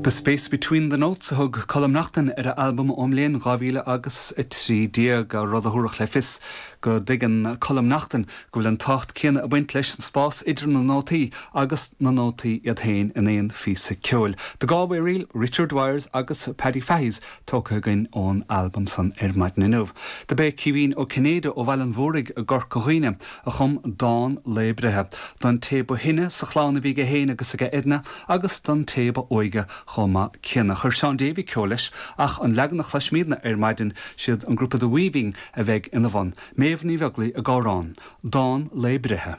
The Space Between the Notes a thug Colm Naughton ar a albam ón mbliain 2013, rud a thabharfadh le fios go dtuigeann Colm Naughton go bhfuil an tábhacht céanna ag baint leis an spás idir na nótaí agus na nótaí iad féin in aon phíosa ceoil. The Galway Reel, Richard Wyers agus Paddy Fahy's tógtha againn ón albam san ar maidin inniu. Do b'é Caoimhín Ó Cinnéide ó Bhaile an Mhúraigh i gCorca Dhuibhne a chum dán lae breithe don té ba shine sa chlann a bhí aige féin agus aige Edna agus don té ba óige chomh maith céanna. Chuir Seán Davey ceol leis ach an leagan a chloisfimídne ar maidin, siad an grúpa The Weaving a bheidh ina bhun. Méabh Ní Bheaglaoich ag amhrán. Dán lae breithe.